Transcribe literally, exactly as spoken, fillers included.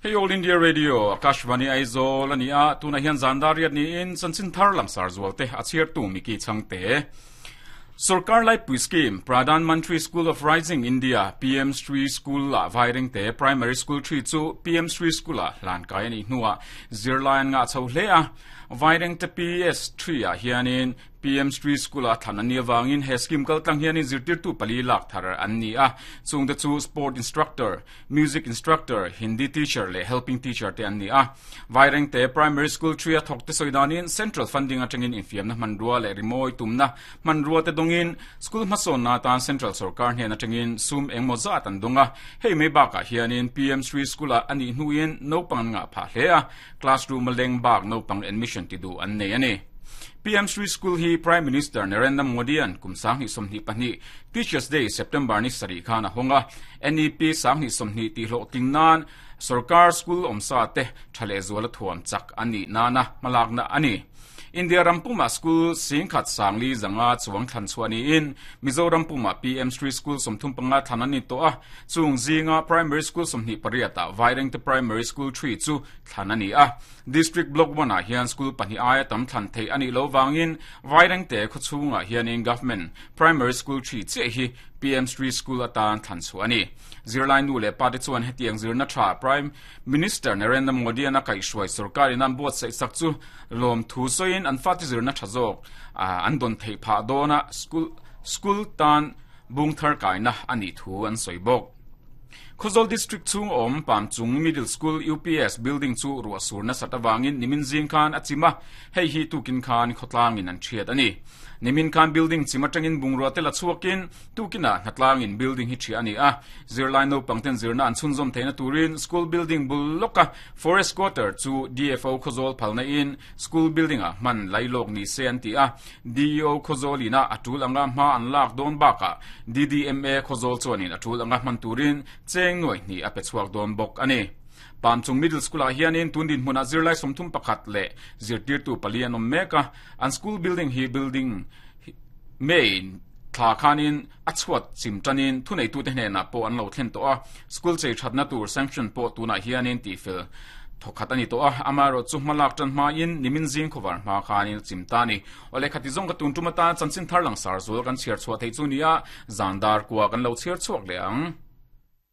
Hey All India Radio Akashvani Aizawl ani a tuna hian zandar riat ni in chanchin thar langsar zualte a chhiar tu Miki Changte. Sarkar Laipui Scheme Pradhan Mantri School of Rising India P M Shri School la Vairengte Primary School three chu P M Shri School a hlan kai ani hnuah zirlai an ngah chho hle a. Vairengte P S three ah hianin P M Shri School a thlan ani awangin he scheme kal tlang hianin zirtirtu pali lak thar an ni a. Chungte chu sport instructor, music instructor, Hindi teacher leh helping teacher te an ni a. Vairengte Primary School three a thawk te sawi danin central funding atangin infiamna hmanrua leh rimawi tumna hmanrua te dawngin school hmasawnna tan central sarkar hnen atangin sum engmaw zat an dawng a. Hei mai bakah hianin P M Shri School ah anih hnuin naupang an ngah phah hle a, classroom a leng bak naupang admission ti duh an nei a ni. P M Shri School hi Prime Minister Narendra Modi an kum sanghnih sawmhnih pahnih Teachers Day September ni sarih khan a hawng a. N E P sanghnih sawmhnih tihhlawhtling nan sarkar school awmsa te tha leh zuala thuam chak a nih nana hmalakna a ni. India rampuma school singkhat sangli zanga chuang thlan chhuah niin Mizoram puma P M Shri School sawmthum panga thlan an ni tawh a. Chung zinga primary school sawmhnih pariat ah Vairengte Primary School three chu thlan a ni a. District Block one ah hian school pahnih aia tam thlan theih a nih lo wangin Vairengte khawchhungah hianin Government Primary School three chiah hi P M Shri School atan thlan chhuah a ni. Zirlai nu leh pa te chuan hetiang zirna tha Prime Minister Narendra Modi an a kaihhruai sarkarin an buatsaih sak chu lawm thu sawiin an fate zirna tha zawk an dawn theih phah dawna school school tan bung thar kaina a nih thu an sawi bawk. Khawzawl District chung awm Pamchung Middle School U P S building chu ruah sur nasat awangin nimin zing khan a chim a. Hei hi tukin khan khawtlangin an thiat a ni. Nimin khan building chim atangin bungrua te la chhuakin tukina hnatlangin building hi thia a ni a. Zirlai naupang ten zirna an chhunzawm theihna turin school building bul lawka forest quarter chu D F O Khawzawl phalna in school building ah hman lailawk ni se an ti a. D E O Khawzawl ina a tul anga hma an lak dawn bakah D D M A Khawzawl chuanin a tul anga hman turin cheng nuai hnih a pe chhuak dawn bawk a ni. Pamchung Middle School ah hianin tundin hmunah zirlai sawmthum pakhat leh zirtirtu pali an awm mek a. An school building hi building main thla khanin a chhuat chim tanin thuneitute hnenah pawh an lo thlen tawh a. School chei thatna tur sanction pawh tunah hianin tihfel thawkhat a ni tawh a. Amaherawh chu hmalak tan hmain nimin zing khawvar hma khanin chim ta ni. Awle, khati zawng ka tun tum atan chanchin thar langsar zual kan chhiar chhuah thei chu nia. Zandar kua kan lo chhiar chhuak leh ang.